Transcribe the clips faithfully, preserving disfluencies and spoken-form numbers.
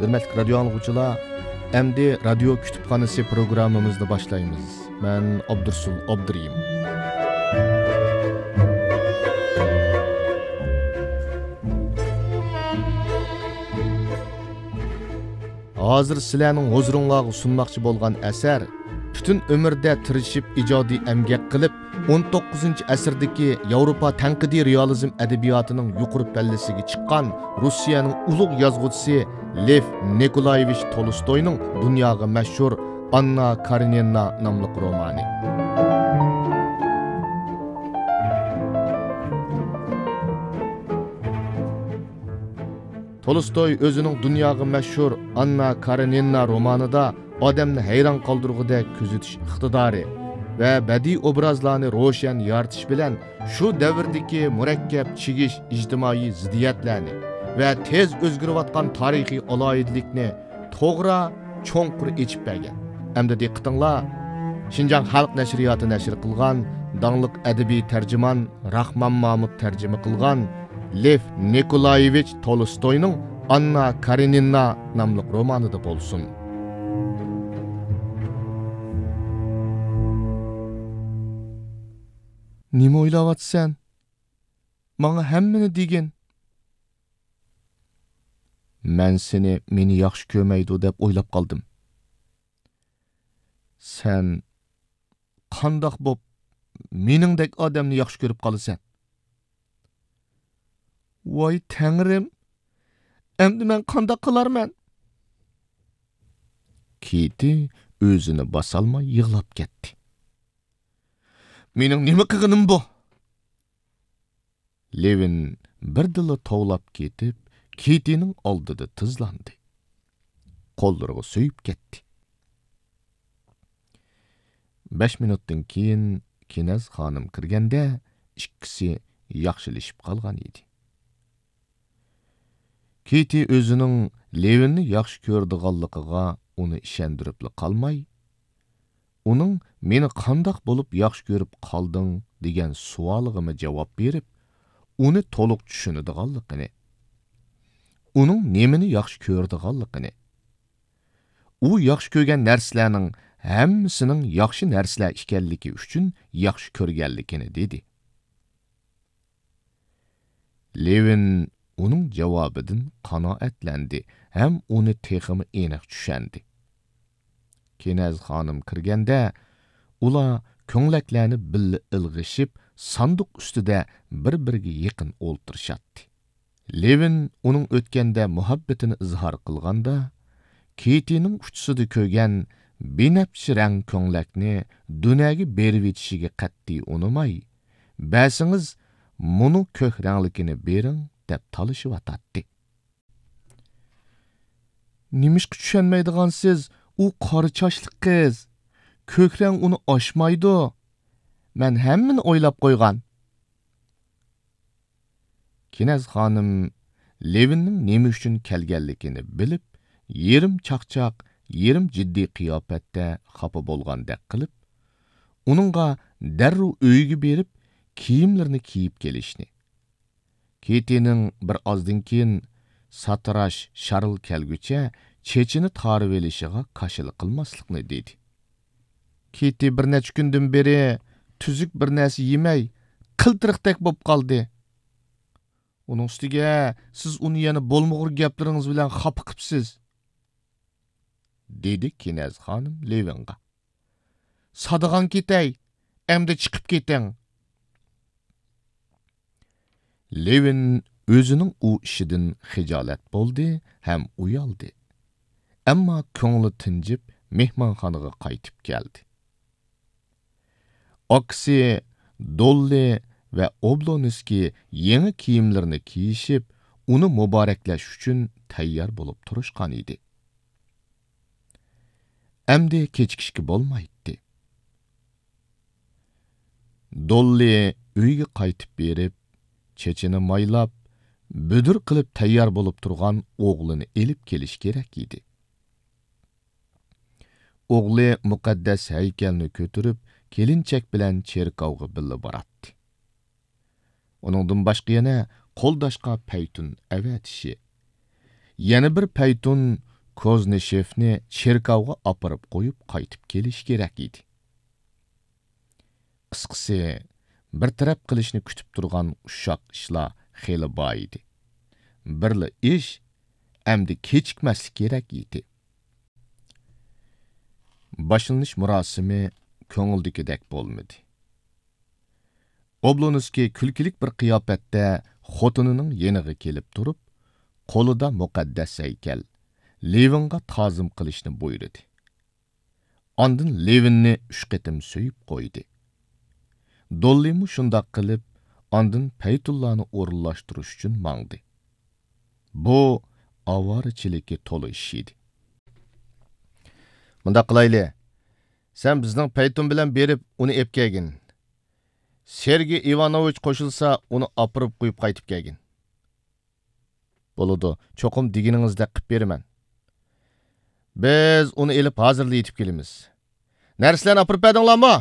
ھۆرمەتلىك رادىيو ئاڭلىغۇچىلار، ئەمدى رادىيو كۇتۇپخانىسى پروگراممىمىزنى باشلايمىز. مەن ئابدۇرسۇل ئابدۇرېھىم. ھازىر سىلەرنىڭ ھۇزۇرۇڭلارغا سۇنماقچى بولغان ئەسەر پۈتۈن ئۆمرىدە تىرىشىپ ئىجادىي ئەمگەك قىلىپ، ئون توققۇزىنچى ئەسىردىكى ياۋروپا تەنقىدىي رېئالىزم ئەدەبىياتىنىڭ يۇقىرى پەللىسىگە چىققان روسىيەنىڭ ئۇلۇغ يازغۇچىسى لېف نىكولايېۋىچ تولستوينىڭ دۇنياغا مەشھۇر ئاننا كارېنىنا ناملىق رومانى. تولستوي ئۆزىنىڭ دۇنياغا مەشھۇر ئاننا كارېنىنا رومانىدا ئادەمنى ھەيران قالدۇرغۇدەك كۆزىتىش ئىقتىدارى ۋە بەدىئىي ئوبرازلارنى روشەن يارىتىش بىلەن شۇ دەۋردىكى مۇرەككەپ چىگىش ئىجتىمائىي زىددىيەتلەرنى ۋە تېز ئۆزگىرىۋاتقان تارىخىي ئالاھىدىلىكنى توغرا، چوڭقۇر ئېچىپ بەرگەن. ئەمدى دىققىتىڭلار، شىنجاڭ خەلق نەشرىياتى نەشر قىلغان داڭلىق ئەدەبىي تەرجىمان راخمان مامۇت تەرجىمە قىلغان لېف نىكولايېۋىچ تولستوينىڭ ئاننا كارېنىنا ناملىق رومانىدا بولسۇن. نېمە ئويلاۋاتىسەن؟ ماڭا ھەممىنى دېگىن. مەن سېنى مېنى ياخشى كۆرمەيدۇ دەپ ئويلاپ قالدىم. سەن قانداق بوپ مېنىڭدەك ئادەمنى ياخشى كۆرۈپ قالىسەن؟ ۋاي تەڭرىم، ئەمدى مەن قانداق قىلارمەن؟ كېتى ئۆزىنى باسالماي يىغلاپ كەتتى. مېنىڭ نېمە قىلغىنىم بۇ؟ لېۋىن بىردىنلا توۋلاپ كېتىپ، كېتىنىڭ ئالدىدا تىزلاندى. قوللىرىغا سۆيۈپ كەتتى. بەش مىنۇتتىن كېيىن كىنەز خانىم كىرگەندە، ئىككىسى ياخشىلىشىپ قالغان ئىدى. كېتى ئۆزىنىڭ لېۋىننى ياخشى كۆرىدىغانلىقىغا ئۇنى ئىشەندۈرۈپلا قالماي، ئۇنىڭ «مېنى قانداق بولۇپ ياخشى كۆرۈپ قالدىڭ؟» دېگەن سوئالىغىمۇ جاۋاب بېرىپ، ئۇنى تولۇق چۈشىنىدىغانلىقىنى، ئۇنىڭ نېمىنى ياخشى كۆرىدىغانلىقىنى، ئۇ ياخشى كۆرگەن نەرسىلەرنىڭ ھەممىسىنىڭ ياخشى نەرسىلەر ئىكەنلىكى ئۈچۈن ياخشى كۆرگەنلىكىنى دېدى. لېۋىن ئۇنىڭ جاۋابىدىن قانائەتلەندى ھەم ئۇنى تېخىمۇ ئېنىق چۈشەندى. كىنەز خانىم كىرگەندە، ئۇلار كۆڭلەكلەرنى بىللە ئىلغىشىپ، ساندۇق ئۈستىدە بىر-بىرىگە يېقىن ئولتۇرۇشاتتى. لېۋىن ئۇنىڭ ئۆتكەندە مۇھەببىتىنى ئىزھار قىلغاندا، كېتىنىڭ ئۇچىسىدا كۆرگەن بىنەپشە رەڭ كۆڭلەكنى دۈنەگە بېرىۋېتىشىگە قەتئىي ئۇنىماي، «بەرسىڭىز، مۇنۇ كۆك رەڭلىكىنى بېرىڭ» دەپ تالىشىۋاتاتتى. نېمىشقا چۈشەنمەيدىغانسىز؟ ئۇ قارا چاچلىق قىز. كۆك رەڭ ئۇنى ئاشمايدۇ. مەن ھەممىنى ئويلاپ قويغان. كىنەز خانىم لېۋىننىڭ نېمە ئۈچۈن كەلگەنلىكىنى بىلىپ، يېرىم چاقچاق، يېرىم جىددىي قىياپەتتە خاپا بولغاندەك قىلىپ، ئۇنىڭغا دەررۇ ئۆيىگە بېرىپ، كىيىملىرىنى كىيىپ كېلىشنى، كېتىنىڭ بىر ئازدىن كېيىن ساتىراش شارل كەلگۈچە چېچىنى تارىۋېلىشىغا كاشىلا قىلماسلىقنى دېدى. كېتى بىر نەچچە كۈندىن بېرى تۈزۈك بىر نەرسە يېمەي، قىلتىرىقتەك بولۇپ قالدى. ئۇنىڭ ئۈستىگە سىز ئۇنى يەنە بولمىغۇر گەپلىرىڭىز بىلەن خاپا قىپسىز، دېدى كىنەز خانىم لېۋىنغا. سادىغان كېتەي، ئەمدى چىقىپ كېتىڭ. لېۋىن ئۆزىنىڭ ئۇ ئىشىدىن خىجالەت بولدى ھەم ئۇيالدى. ئەمما كۆڭلى تىنجىپ، مېھمانخانىغا قايتىپ كەلدى. ئاكىسى دوللى ۋە ئوبلونسكىي يېڭى كىيىملىرىنى كىيىشىپ، ئۇنى مۇبارەكلەش ئۈچۈن تەييار بولۇپ تۇرۇشقان ئىدى. ئەمدى كېچىكىشكە بولمايتتى. دوللى ئۆيگە قايتىپ بېرىپ، چېچىنى مايلاپ، بۈدۈر قىلىپ تەييار بولۇپ تۇرغان ئوغلىنى ئېلىپ كېلىش كېرەك ئىدى. ئوغلى مۇقەددەس ھەيكەلنى كۆتۈرۈپ، كېلىنچەك بىلەن چېركاۋغا بىللە باراتتى. ئۇنىڭدىن باشقا يەنە قولداشقا پەيتۇن ئەۋەتىشى، يەنە بىر پەيتۇن كوزنىشېفنى چېركاۋغا ئاپىرىپ قويۇپ قايتىپ كېلىشى كېرەك ئىدى. قىسقىسى، بىر تەرەپ قىلىشنى كۈتۈپ تۇرغان ئۇششاق ئىشلار خېلى بار ئىدى. بىرلا ئىش، ئەمدى كېچىكمەسلىك كېرەك ئىدى. باشلىنىش مۇراسىمى كۆڭۈلدىكىدەك بولمىدى. ئوبلونسكىي كۈلكىلىك بىر قىياپەتتە خوتۇنىنىڭ يېنىغا كېلىپ تۇرۇپ، قولىدا مۇقەددەس ھەيكەل، لېۋىنغا تازىم قىلىشنى بۇيرۇدى. ئاندىن لېۋىننى ئۈچ قېتىم سۆيۈپ قويدى. دوللىمۇ شۇنداق قىلىپ، ئاندىن پەيتۇللانى ئورۇنلاشتۇرۇش ئۈچۈن ماڭدى. بۇ ئاۋارىچىلىككە تولا ئىش ئىدى. مۇنداق قىلايلى، سەن بىزنىڭ پەيتۇن بىلەن بېرىپ ئۇنى ئېپ كەلگىن. سېرگېي ئىۋانوۋىچ قوشۇلسا، ئۇنى ئاپىرىپ قويۇپ قايتىپ كەلگىن. بولىدۇ، چوقۇم دېگىنىڭىزدەك قىپ بېرىمەن. بىز ئۇنى ئېلىپ ھازىرلا يېتىپ كېلىمىز. نەرسىلەرنى ئاپىرىپ بەردىڭلارمۇ؟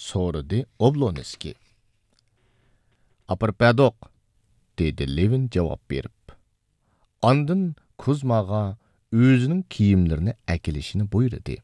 سورىدى ئوبلونسكىي. ئاپىرىپ بەردۇق، دېدى لېۋىن جاۋاب بېرىپ. ئاندىن كۇزماغا ئۆزىنىڭ كىيىملىرىنى ئەكېلىشىنى بۇيرۇدى.